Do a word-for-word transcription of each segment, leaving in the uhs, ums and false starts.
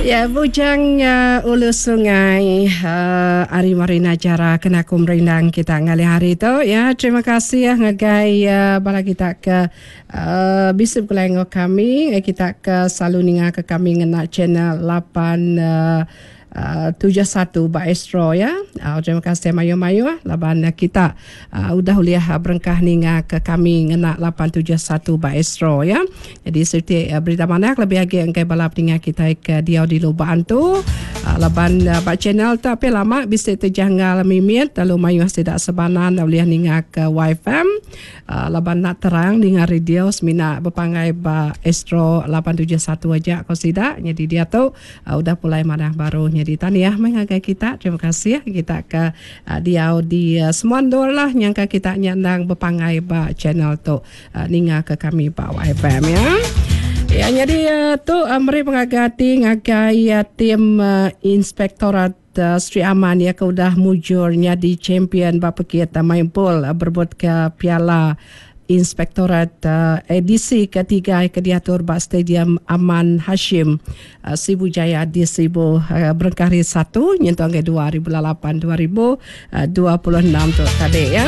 Ya, Bujang uh, Ulu Sungai uh, Ari Marina Jara kena aku merindang kita ngalih hari tu ya. Terima kasih ya ngagai uh, bala kita ke uh, bisi begulai enggau kami, ngagai kita ke selalu ninga ke kami ngena channel lapan uh, Uh, tujuh satu ba Astro ya. Uh, terima kasih mayuh-mayuh laban uh, kita uh, udah ulih uh, berengkah ninga ke kami ngena lapan tujuh satu ba Astro ya. Jadi seperti uh, berita manah lebih agi engkai bala peninga kita ke diau di Lubok Antu uh, laban uh, ba channel tu api lama bisi terjanggal mimit lalu mayuh sidak sebanan ulih ninga ke Y F M uh, laban nak terang ninga radio semina berpangai ba Astro lapan tujuh satu aja ko sidak. Jadi dia tu uh, udah pulai manah baru. Jadi tahniah mengagai kita. Terima kasih kita ke uh, diau di uh, semua ndor lah nyangka kita nyandang berpangai ba channel tu uh, ninga ke kami ba Y F M ya. Ya jadi uh, tu uh, meri pengagati ngagai uh, tim uh, Inspektorat uh, Sri Aman ya ke udah mujurnya di champion ba pekit uh, main pool uh, berebut ke Piala Inspektorat uh, edisi ketiga ke diatur ba Stadium Aman Hashim uh, Sibu Jaya di Sibu uh, berengkah hari satu nyentuh ke dua ribu lapan dua ribu dua puluh enam tu tadi ya.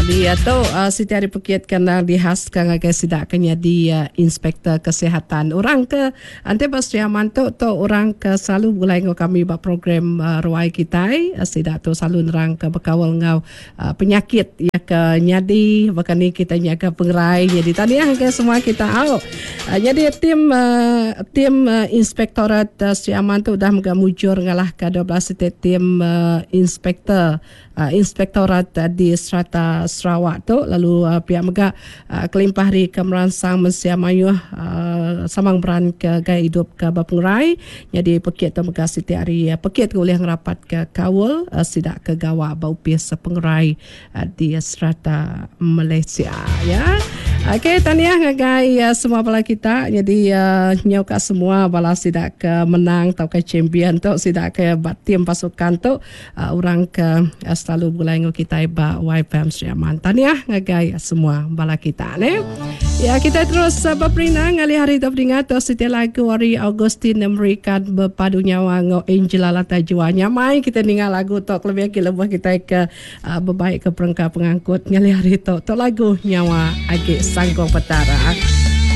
Jadi uh, tu uh, Siti Hari Pekit kena dihaskan ngagai sidak kena di uh, Inspektor Kesihatan. Orang ke ante ba Sri Aman tu tu orang ke selalu mulai ngau kami ba program uh, ruai kitai uh, sidak tu selalu nerang ke bekawal ngau uh, penyakit ya ke nyadi bahkan ni kita nyaga pengerai. Jadi tadi ya ke semua kita au. Uh, jadi tim uh, tim uh, Inspektorat uh, Sri Aman tu dah mega mujur ngalah ke dua belas tim uh, inspektor uh, Inspektorat uh, di serata Sarawak tu lalu uh, pihak mega uh, kelimpah hari ke meransang mensia mayuh uh, samang beran ke gaya hidup ke berpengerai. Jadi pekit tu mega siti hari uh, pekit ke boleh ngerapat ke kawal uh, sidak ke gawa bau pis pengerai uh, di serata Malaysia ya. Okey, tahniah ngagai uh, semua bala kita. Jadi uh, nyau ka semua bala sidak ke menang atau ke champion tu sidak ke tim pasukan tu uh, orang ke uh, selalu bulai ngau kita ba Y F M Sri Aman. Tahniah ngagai semua bala kita ne. Ya, kita terus uh, berperindang ngalih hari tu beringat tu setiap lagu hari Augustine memberikan berpadu nyawa ngau Angela Lata Jua. Nyamai kita dengar lagu tu lebih lagi lebih kita ke uh, berbaik ke perengka pengangkut ngalih hari tu. Tu lagu nyawa agi Sangkong Petara.